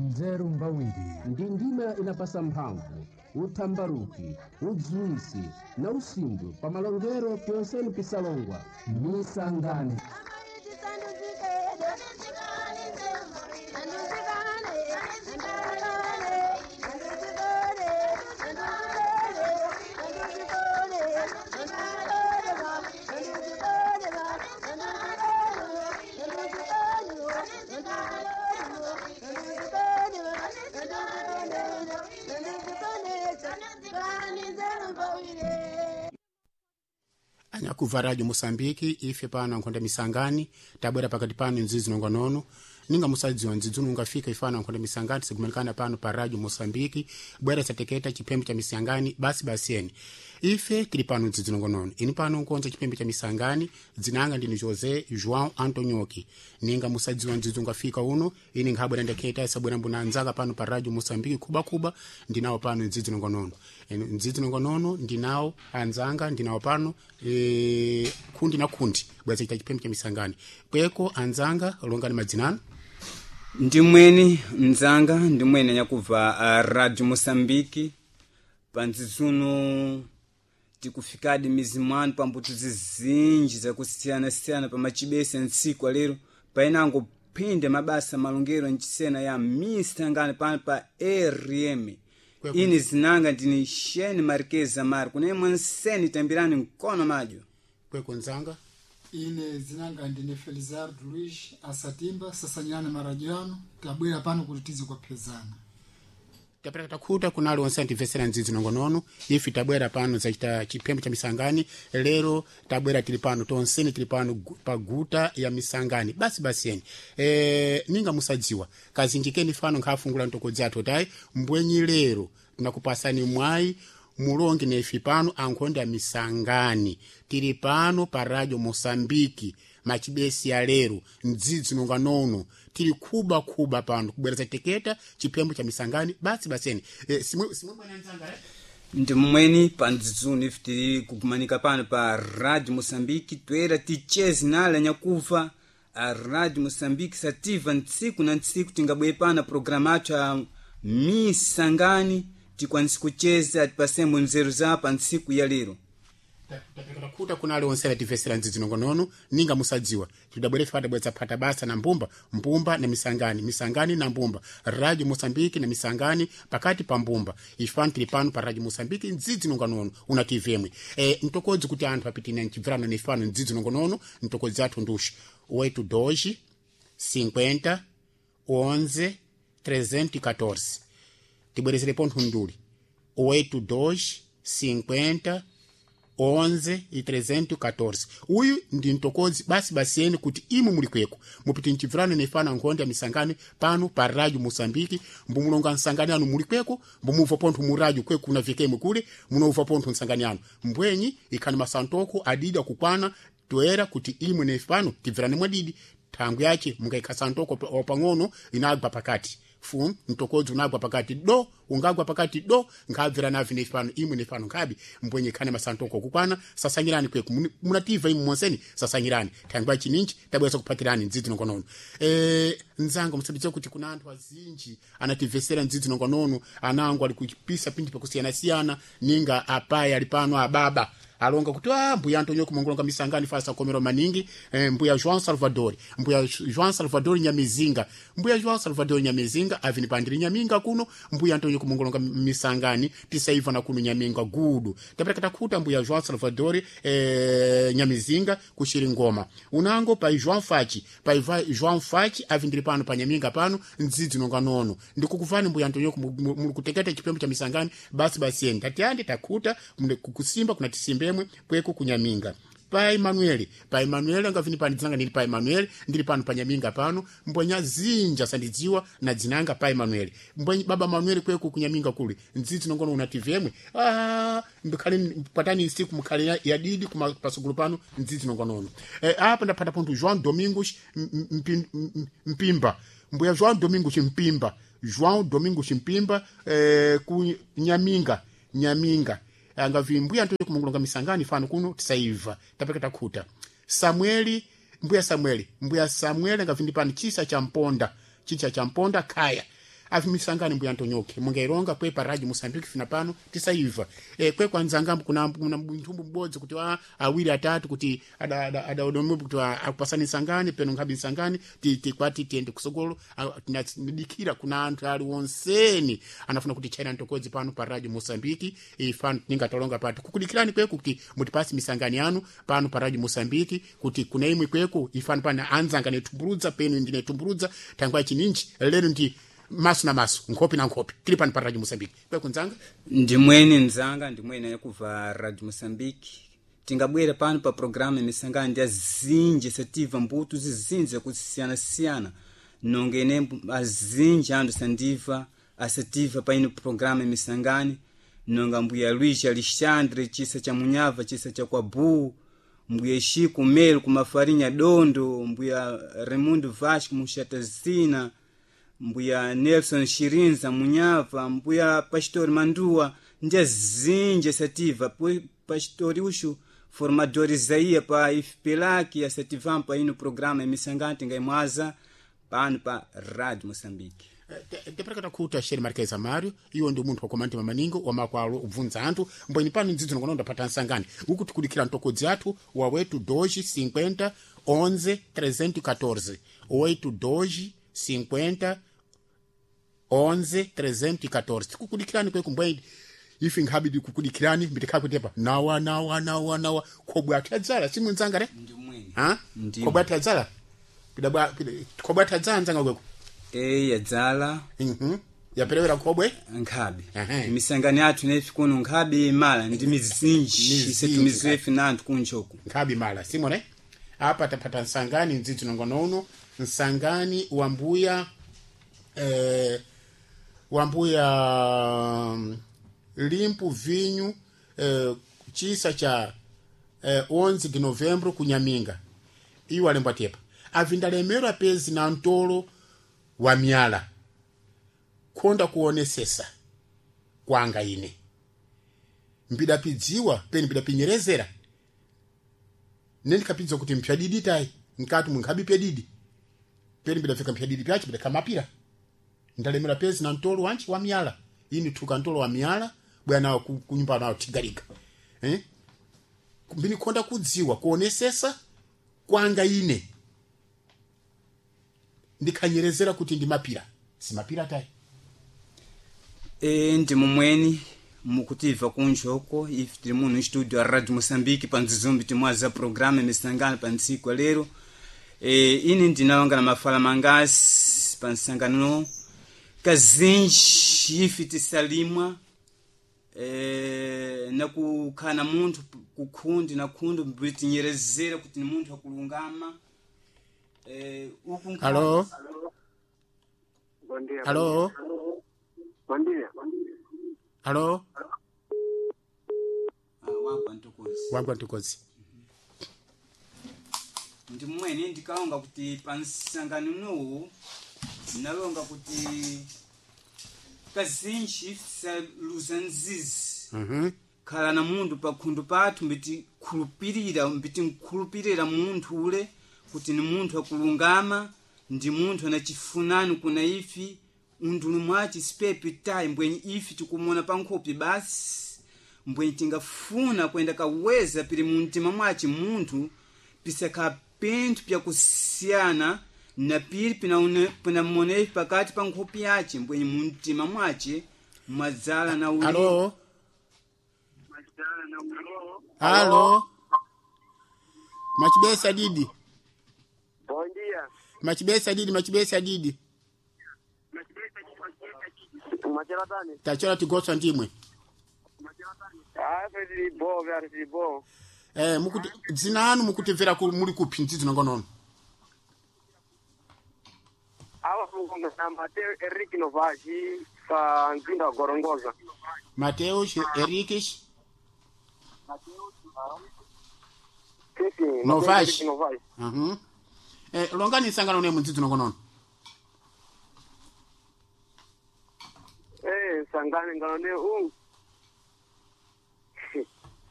Nzeru mbawiri. Ndi ndima inapasa mphamvu, uthambaruki, udziwisi na usimbwe pa malongero pyonseni pisalongwa. Misangani. Anyakuva Radio Moçambique, ife pano ankhonda misangani, tabwera pakati pano nzizi nongonono. Ninga musadziwa nzidzunu ungafika ifano ankhonda misangani, sikumanikana pano pa Radio Moçambique, bwera sateketa chipembe cha misangani, basi basi eni. Ife tili pano nzizi nongonono. Ini pano nkonza chipembe cha misangani, dzinanga ndini José João Antonioki. Ninga musadziwa nzidzo ungafika uno, ini nkhabwera ndeketa isabwera mbuna anzaka pano pa Radio Moçambique kuba kuba, ndinawo pano nzizi nongonono. Nzizi nongonono ndinawo anzanga ndinawo pano kundi na kundi bweza chita chipembe cha misangani. Kweko anzanga longani madzinano. Ndimweni mzanga, ndimweni anyakubva a Radio Moçambique. Panzizuno tikufikadi mizi mwanu pambuto zizinji zakusiyana-siyana pamachibesa ntsiku alero painango phinde mabasa malongero ncisena ya misangano pano pa RM. Kweko. Ini zinanga ndini Shane Marquez Amar kunemwe nseni tambirani mkono madyo. Kweko nzanga. Ine zinanga ndine Felizardo Luiz Asatimba sasanyirana maradio tabwera pano kuti tize kwaphezana. Tapera takhuta kunali onse antimvesera ndzidzi nongonono. Ife tabwera pano zachita chipembe cha misangani. Lero tabwera tili pano tonseni tili pano pa guta ya misangani basi basi eni. Ninga musadziwa kazinjikeni fano nkhafungula ntokodzi athu tayi mbwenyi lero tinakupasani mwayi mulongi nefi pano ankhonde ya misangani. Tili pano pa Radio Moçambique machibesi ya lero mdzidzi nonganono tili kuba kuba pano kubwereza teketa chipembo cha misangani basi baseni. Simwe bwana nzanga eh? Ndimweni pandzizuni ife tili kukumanika pano pa Radio Moçambique toera tichezi nale anyakuva a Radio Moçambique sativa ntsiku na ntsiku tingabwe pano programa athu a misangani tikwanise kucheza atipasembo nzeru za pa ntsiku ya lero. Tapeka kunali onse atimvesera ndzidzi nongonono. Ninga musadziwa tidabwere ife padabweza phata basa na mbumba mbumba na misangani misangani na mbumba Radio Moçambique na misangani pakati pa mbumba. Ife tili pano pa Radio Moçambique ndzidzi nongonono una TV imwe. Mtokodzi kuti anthu apitina mchibvirano na ifano ndzidzi nongonono mtokodzi athu nduxi 82 50 11 314. Tibwerezere pontho nduli 82 50 11 e 314. Uyu ndi mtokodzi basi basiyeni kuti imwe muli kweko mupiti mchibvirano nefana nkhonde ya misangani pano pa Radio Moçambique. Mbumulonga nsangani anu muli kweko mbumubva pontho mu radio kweko kuna vikemwe kule munomva pontho nsangani anu mbwenyi ikhani masantoko adidi akukwana toera kuti imwe nefano tibvirane mwadidi thangu yache mungaikha santoko pang'ono inagwa pakati fu mtokodzi unagwa pakati do ungagwa pakati do nkhabvira navi nefano imwe nefano nkhabi mbwenye khane masantoko kukwana sasanyirani kweku munativa imwe monseni sasanyirani thangwa chininji tabweza kupatirani ndzidzi nongonono. Nzanga musabidza kuti kuna anthu azinji anativesera ndzidzi nongonono anango ali kuchipisa pindi pakusiyana-siyana ninga apayi ali pano ababa alonga kuti mbuya Antonio kumongolonga misangani fasa komero maningi. Mbuya João Salvador, mbuya João Salvador Nyamizinga, mbuya João Salvador Nyamizinga avini pandiri Nyaminga kuno mbuya Antonio kumongolonga misangani tisaiva na kuno Nyaminga gudu tapera takhuta mbuya João Salvador Nyamizinga kushiri ngoma unango pa João Fachi pa João Fachi avindiri pano pa Nyaminga pano ndzidzi nonga nono ndikukuvani mbuya Antonio muli kuteketa chipembe cha misangani basi basi eni tatiande takhuta mune kukusimba kuna tisimbemwe kweko kunyaminga pa Emanuele pa Emanuele angavini pano dzinanga ndili pa Emanuele ndili pano pa Nyaminga pano mbwenya zinja sandidziwa na dzinanga pa Emanuele mbwenye baba Manuele kweko kunyaminga kule ndzidzi nongono una TV yemwe mbikhale patani nsiku mukhale yadidi kuma pasukulu pano ndzidzi nongonono. Apa ndaphata pontho João Domingos Mpimba mbuya João Domingos Mpimba João Domingos Mpimba ku Nyaminga Nyaminga angavi mbuya ntoye kumongolonga misangani fano kuno tisaiva tapeka takhuta Samueli mbuya Samueli mbuya Samueli angavi ndi pano chisa cha mponda chicha cha mponda khaya. Avimisangani mbuya ntonyoke mungailonga kwe pa radio Mosambiki fina pano tisaiva kwe kwanzangambo kuna nthumbu m'bodzi kuti awiri atatu kuti adaodomwepo kuti akupasani nsangani peno nkhabi nsangani tikwati tiyende kusogolo. Tinadikira kuna anthu ali wonseni anafuna kuti chaina ntokodzi pano pa radio Mosambiki ifano tingatalonga pati kukudikirani kweku kuti mutipasi misangani yanu pano pa radio Mosambiki kuti kuna imwe kweku ifano pana anzanga netumbuludza peno ndine tumbuludza tangwa chininji lero ndi maso na maso nkhope na nkhope tili pano pa radio Mosambiki kweku nzanga. Ndimweni nzanga, ndimweni yakuva radio Moçambique. Tingabwera pano pa programa misangano ndi azinji sativa mbuto zizinji zakusiyana-siyana nonga ine azinji anthu sandiva asativa pa ino programa misangani nonga mbuya Luís Alexandre chisa cha Munyava chisa cha Kwabu, mbuya Chico Melo kumafarinha Dondo, mbuya Raimundo Vasco Muxatazina, mbuya Nelson Shirinza Munyava, mbuya Pastor Mandua ndi azinji asativa. Pastor uxu formador Isaías pa IFPELAC asativam pa ino programa emisangani tingaimwaza pano pa Rádio Moçambique. Tepereka kuta Sheri Marquez Amário iwo ndi munthu wakomandi mamaningo wamakwalo ubvunza anthu mbweni pano ndzidzo nokono ndapata nsangani uku tikudikira mtokodzi athu wa 8 2 50 11 314 8 2 50 11 314 tikukudikirani kweku mbweni ife nkhabi tikukudikirani mbitikhakutepa nawa nawa nawa nawa khobwe athu adzala simunzanga re Ndimweni. Ha Ndimwe. khobwe athu adzala pidabwa khobwe athu adzala nzanga kweku. E yadzala. Yaperewera khobwe. Nkhabi. Ehe. Misangano yathu nefi kuno nkhabi imala ndi mizinji Mizinji, isetumiziwe na anthu kunchoku. Nkhabi mala simone apa tapata nsangani ndzidzi nongono uno nsangani wambuya wambuya limpu vinyu chisa cha 11 de novembro kunyaminga iwo alembwa tepa avindalemerwa pezi na ntolo wa myala konda kuonesesa kwanga ine mbidapidziwa peni mbidapinyerezera nendikapidza kuti mpyadidi tayi nkati munkhabi pyadidi peni mbidafika mpyadidi pyachi bidakamapira ndalemera pezi na ntolo wanchi wa miyala ini thuka ntolo wa miyala bwana nawo kunyumba nawo tigalika mbinikonda kudziwa kuonesesa kwanga ine ndikhanyerezera kuti ndimapira simapira tayi. E ndi mumweni mukutiva kunjoko ife tili muno studio a Radio Moçambique pa nzizumbi timwaza programa misangano pa ntsiku lero. E, ine ndinalonga na mafala mangasi pa nsangano kazinji ife tisalimwa na kukhana munthu kukhundi na khundu mbitinyerezera kuti ni munthu akulungama uku Halo. Bom dia. Halo. Bom dia. Halo. Ah, wagwa ntokozi. Wagwa ntokozi. Ndi mmwene ndikalonga kuti pa nsangano unowu ndinalonga kuti kazinji tisaluza nzizi. Khala na munthu pa khundu pathu mbitikhulupirira mbitinkhulupirira munthu ule kuti ni munthu akulungama ndi munthu anachifunani kuna ifi unduni mwachi sipepi tayi mbwenye ifi tikumona pa nkhope basi mbwenye tingafuna kwenda kaweza pili mumtima mwachi munthu pisakhala pinthu pyakusiyana na pili pinamona ifi pakati pa nkhope yace mbwenye mumtima mwace mwadzala na uli. Halo. Halo. Machibesa didi. Bom dia. Machibesa didi, machibesa didi. Machela tani? Tachora tigotswa ndimwe. Ah, tili bo, vyari tili bo. Mukuti dzina anu mukutimvera muli kupi ndzidzi nongonono. Awa mukonga na Mateo Henrique Novaes pa mzinda wa Gorongosa. Mateus Henriques Sim, sim. Mateo Novaes. Henrique Novaes. Longani nsangano ne mudzidzi nongonono. Sangane ngano ne u.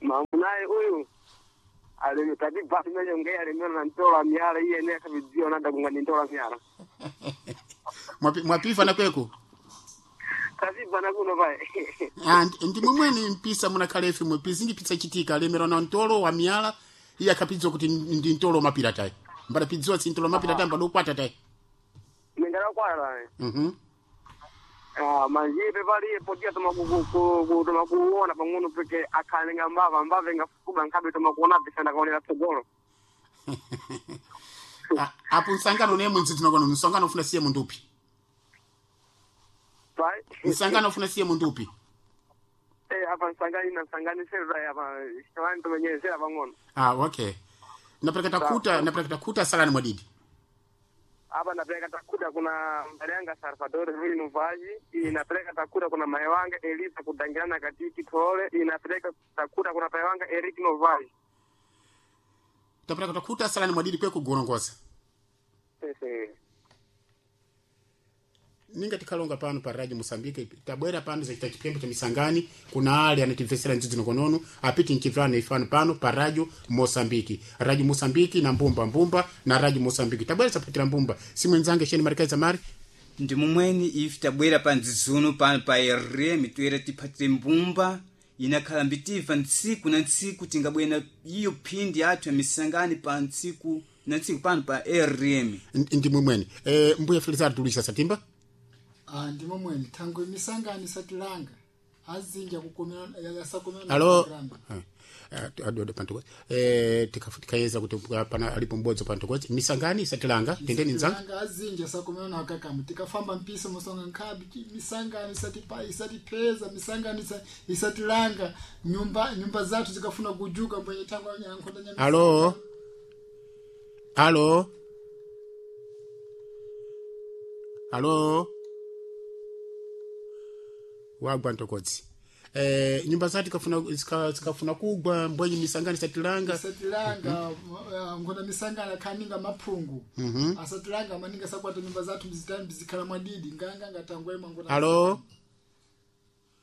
Mamunaye uyu. Alimi tadi basi mejo nge alimela na ntola miara iye ne kabidzio nanda kunga ni ntola miara. Mwapifa na kweku. Tibana kuno pai. Ah, ndi momweni mpisa munakhala ife mwe pizingi pisa chitika lemera na ntolo wa miyala iye akhapidziwa kuti ndi ntolo mapira tayi mbadapidziwa si ntolo mapira tayi mbadokwata tayi Mingala kwala. Mhm. Ah, manjipe pali podia tomakuona pang'ono peke akhalenga mbava mbava ingafukuba nkhabe tomakuona pisana kaonera tsogolo. Ah, apo msangano nemwe mdzidzinakona msangano ufuna siye mundu upi Pai. msangano ufuna siye mundu upi Eh, apa msangani na msangani sera apa shawani tomenyezera pang'ono. ah okay napeleka takuta salani mwadidi Apa napeleka takuda kuna mbale yanga Salvador Vili Nuvaji, inapeleka takuda kuna mae wanga Elisa kudangirana katiki tole, inapeleka takuda kuna pae wanga Eric Novaji. tapeleka takuta salani mwadidi kwe kugorongoza Sese. Ninga tikalonga pano pa radio Mosambike tabwera pano zachita chipembe cha misangani kuna ale anatimvesera ndzidzi nokonono apiti nchivana ifano pano pa radio Mosambiki radio Mosambiki na mbumba mbumba na radio Mosambiki tabwera sapatira mbumba simwenzange sheni marikaza mari Ndi momweni ife tabwera pa ndzidzuno pano pa RM toera tiphatire mbumba inakhala mbitiva ntsiku na ntsiku tingabwera iyo phindi yathu ya misangani pa ntsiku na ntsiku pano pa RM. Ndi momweni mbuya Felizardo Luisa Satimba. Ah, ndimo mwene thangwe misangano isatilanga azinja kukomera yasakomera Alo. Adodo pantokozi tikayeza kuti pana alipo mbodzo pantokozi misangani isatilanga tendeni nzanga Isatilanga azinja sakomera na kakamu tikafamba mpisa musonga nkhabi misangano isatipa isatipeza misangano isatilanga nyumba zathu zikafuna kujuka mbwenye thangwe yankhonda nyamisa. Alo. Alo. Alo. Wagwa ntokodzi. Nyumba zati kafuna zikafuna kugwa mbwenye misangani satilanga. Isatilanga nkhonda misangano khaninga maphungu asatilanga maninga sakwata nyumba zathu mzitani zikhala mwadidi nganga ngatangwe mangona. Alo.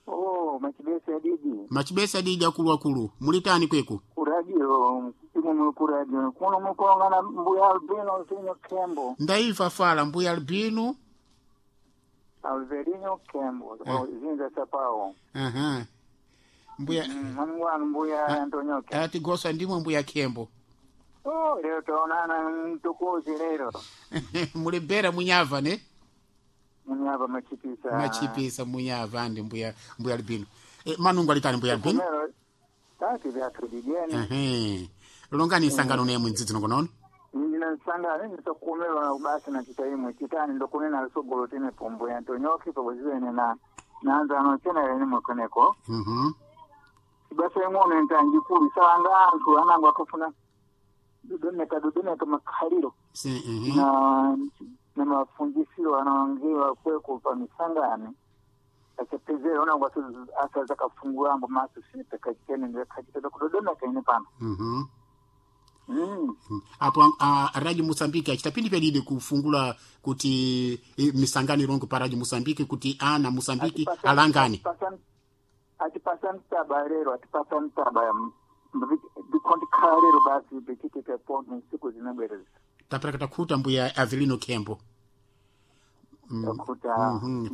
Oh, machibesa adidi Machibesa adidi akulu akulu. Mulitani kweku. kuradio imwe muli kuradio kuno mukulongana mbuya Albino Vinyo Kembo Ndaiva fala mbuya Albino. Alverino Kembo zinza sapao. Aha. Mbuya Mwangu mbuya Antonio Kembo. ati gosa ndimwe mbuya Kembo. Oh, lero taonana mtukuzi lero Mulibera munyava ne? munyava machipisa Machipisa munyava andi mbuya Albino. Manungu alitani mbuya Albino? Kumero tati vyathu digeni Ehe. Longani isangano nemwe ndzidzi nongonono. ndina nsangano ndisokumelwa basi na chita imwe chitani ndokunena lusogolo tine pombo ya Antonioki pakuziwene na nanzano chena lene mwekoneko Mhm. Basa ing'ono ntanjikulu salanga anthu anango akafuna dudumeka makhaliro Si mhm. na mafunjisiro anaongewa kweko pa misangano achapezera unango asaza kafungulambo maso sita kachitene ndakachiteta kudodomeka ine pano. Mhm. Apo Radio Mozambique achitapindi pedide kufungula kuti misangano irongo pa Radio Mozambique kuti ana Mozambique alangani. Atipasa mtaba lero atipasa mtaba ndikondikhala lero basi bichitike pondo nsiku zinabwereza. Tapera kutakuta mbuya Avelino Kembo. Takuta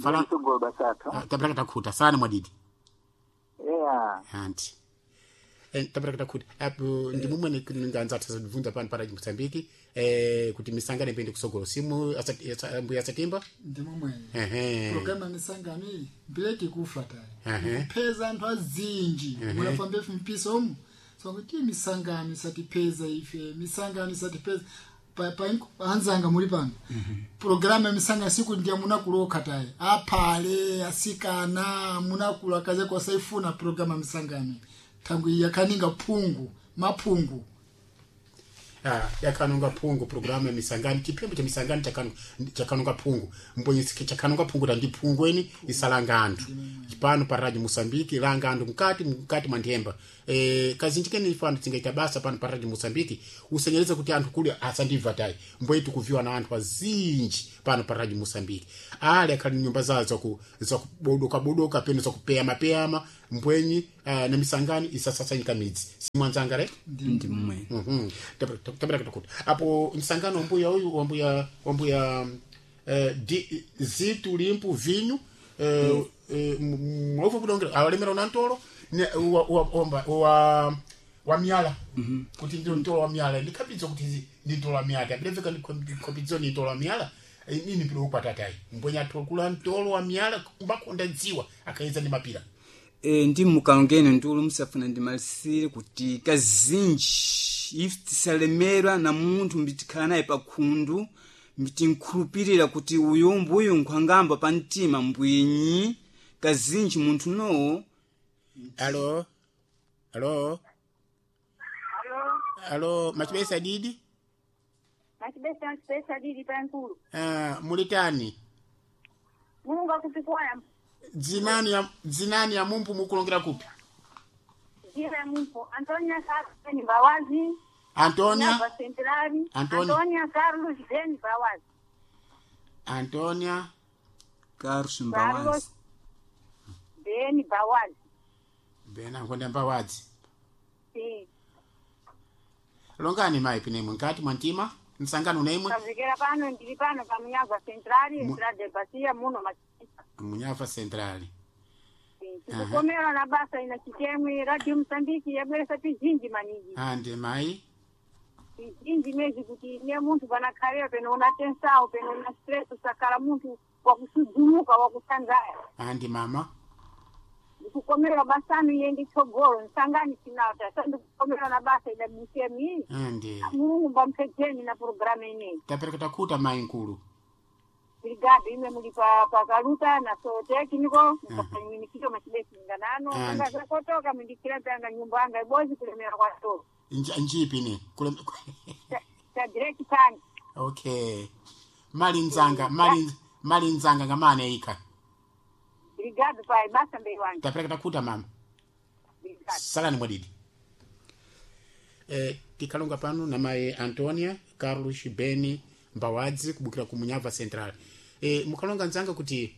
Fala- sogolo basathu. Tapera kutakuta sana mwadidi. Yeah. Anti. Tapera kutakuta apo ndi mumwe nganza tazibvunza pano pa Radio Mozambique kuti misangano ipinde kusogolo simu mbuya Satimba. Ndimo mwene Ehe. Programa ya misangano iyi mbireki kufa tayi Ehe. kupeza anthu azinji mulafamba ife mpiso omu sokuti misangano isatipeza ife misangano isatipeza anzanga muli pano programu ya misangano siku ndiya munakuloka tayi aphale asikana munakulu akaze kwasaifuna programu ya misangano thangwi yakaninga phungu maphungu. Yakanonga phungu programu ya misangani chipembe cha misangani chakanonga phungu mbonye chakanonga phungu tandi phungu eni isalanga anthu pano pa radio Mozambique langa anthu mkati mwa nthemba kazinji kene ifano tingaita basa pano pa radio Mozambique usenyereze kuti anthu kuli asandibva tayi mbonye tikuviwa na anthu azinji pano pa radio Mozambique ali akhali nyumba zawo zakubodoka bodoka peno zakupeyama peyama mbwenyi na misangani isasasanyika midzi simwanzanga re Ndi momweni. Mhm. Tabera kutakuta apo msangano mbuya uyu wambuya zitu limpu vinyu Mwaufa kudongera awalemera una ntolo ne wa wa omba wa wa myala kuti ndi ntolo wa myala ndikhapidzo kuti ndi ntolo wa myala tabireveka ndikhapidzo ndi ntolo wa myala. Nini pilo ukwatatayi mbwenya atokula ntolo wa myala kumbakonda dziwa akayeza ndi mapira. Ndi mukalongene ndulu musafuna ndimalisire kuti kazinji ife tisalemerwa na munthu mbitikhala naye pakhundu, mbitinkhulupirira kuti uyu mbuyu nkhwangamba pa mtima mbwinyi kazinji munthu nowo. Alo, alo. Alo. Alo, machibesa didi. Machibesa, machibesa didi pankulu. Ah, mulitani? Mulungu akupikuwaya. Dzinani ya mumpu mukulongera kupi? Jina ya mumpu Antonia Carlos Ben Bawazi. Antonia Nava Centrali. Antonia. Antonia Carlos Ben Bawazi. Antonia Carlos Mbawazi. Carlos Ben Bawazi. Bena nkonda Mbawadzi. Sim. Longani mayi pinemwe nkati mwa mtima msangano unaimwe. Kavikera pano ndili pano pa Munyava Centrali, Entrada de Bacia muno Machibesa. Munyava Centrali. Tikukomera na basa ina chitemwe Radio Msambiki yabweresa pizinji maningi. Ande mayi. Pizinji mezi kuti ne munthu panakhalira peno una tensao peno una stress usakhala munthu wakusudzumuka wakusanzaya. Ande mama. Ndikukomera basanu iye nditsogolo nsangani sinauta sa ndikukomera na basa ida BCM Ande. Mulungu mbamphedzeni na programu ineyi. Tapereka takuta mayi nkulu. Brigado imwe muli pa pakaluta na so tekniko mukafanyimikito machibesi nganano Andi. anga zakotoka mindikira mpanga nyumba anga ibozi kulemera kwa tolo. Njipi ne Ta direct tank. Okay, mali nzanga mali mali nzanga ngamane ika. Brigado pa basa mbei wange. Tapereka takuta mama. Brigado. Salani mwadidi. Tikalonga pano na mayi Antonia Carlos Beni Mbawadzi kubukira ku Munyava Central. Mukalonga nzanga kuti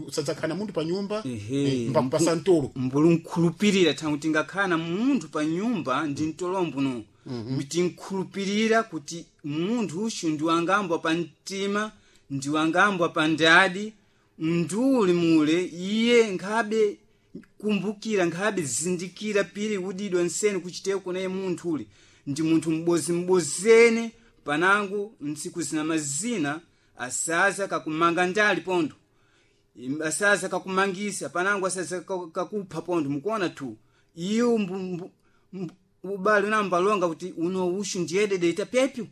usadzakhala munthu pa nyumba. Ehe. Mbakupasa mtolo. Mbulu nkhulupirira thangu tingakhala na munthu pa nyumba ndi mtolombo no mbitinkhulupirira kuti munthu uxu ndiwangambwa pa mtima, ndiwangambwa pa ndadi nduli mule iye nkhabe kumbukira nkhabe zindikira pili udidwa nsene kuchiteko kunaye munthu uli ndi munthu m'bozi-m'bozene panango ntsiku zina mazina asaza kakumanga ndali pondo asaza kakumangisa panango asaza kakupha pondo mukuona tu iyo ubale unambalonga kuti uno ushu ndiyedede ita pyepyo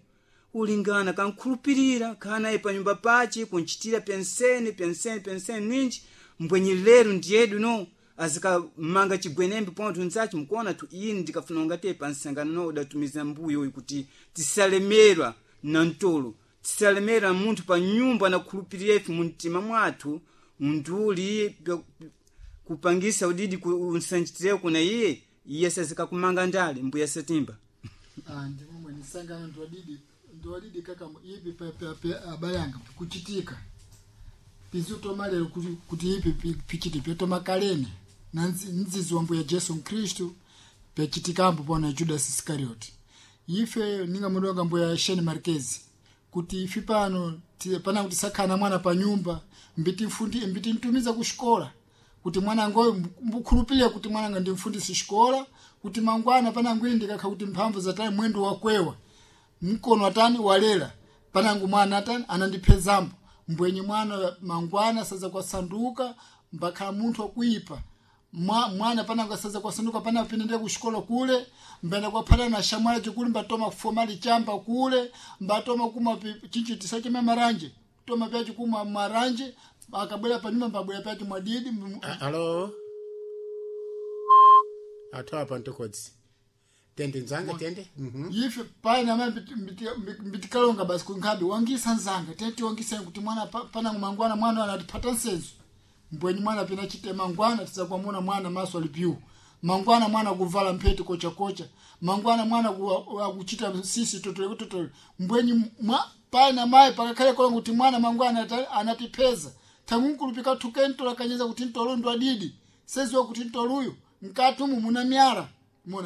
ulingana kankhulupirira khanaye panyumba pace kunchitira pensene pensene pensene ninji mbwenyi lero ndiyedu no azikamanga chigwenembe pontho nzachi mukuona tu ini ndikafuna ungate pansangano no udatumiza mbuyo uyu kuti tisalemerwa na mtolo, tisalemerwa munthu pa nyumba nakhulupirira ife mumtima mwathu nduli kupangisa udidi unsanchitireko kuna iye iye sazikakumanga ndale mbuya satimba. Ah, ndimomwe nisangano ndiwadidi ndiwadidi kaka ipi pa abale anga kuchitika pizutomalero kuti ipi pichiti pyotomakalene na nzizi wa mbuya Jesu Kristu pyachitikambo pona Judas Iscariot. Ife ninga mudonga mbuya Sheni Marquez kuti ifi pano pana kuti sakhana mwana pa nyumba mbiti mfundi mbiti mtumiza kushikola kuti mwana ngoyo mbukhulupirira kuti mwana nga ndimfundisi xikola kuti mangwana panangu ine ndikakha kuti mphamvu zatani mwendo wakwewa mkono atani walela panangu mwana atani anandiphezambo mbwenye mwana mangwana saza kwasanduka mbakhala munthu wakuipa mwana panangu asaza kwasanduka pana pinende kuxikola kule mbenda kwaphana na shamwali chikuli mbatoma kufomali chamba kule mbatoma kumwa chichi tisachema maranje toma pyachi kumwa maranje akabwera panyumba mbabwera pyachi mwadidi Alo, athu apa ntokodzi tende nzanga tende. Ife paina mai mbitikalonga basi kunkhabe wangisa nzanga tete wangisa kuti mwana panangu mangwana mwana anatipata nsenzo mbwenyi mwana pina chite mangwana tizakwamuna mwana maso alipiu mangwana mwana kuvala mpheti kocha kocha mangwana mwana akuchita sisi totole totole mbwenyi paina mai pakakhale kolonga kuti mwana mangwana anatipeza tangunkulupika thukentola kanyeza kuti ntolo ndo adidi seziwa kuti ntoluyu mkati umu muna myala.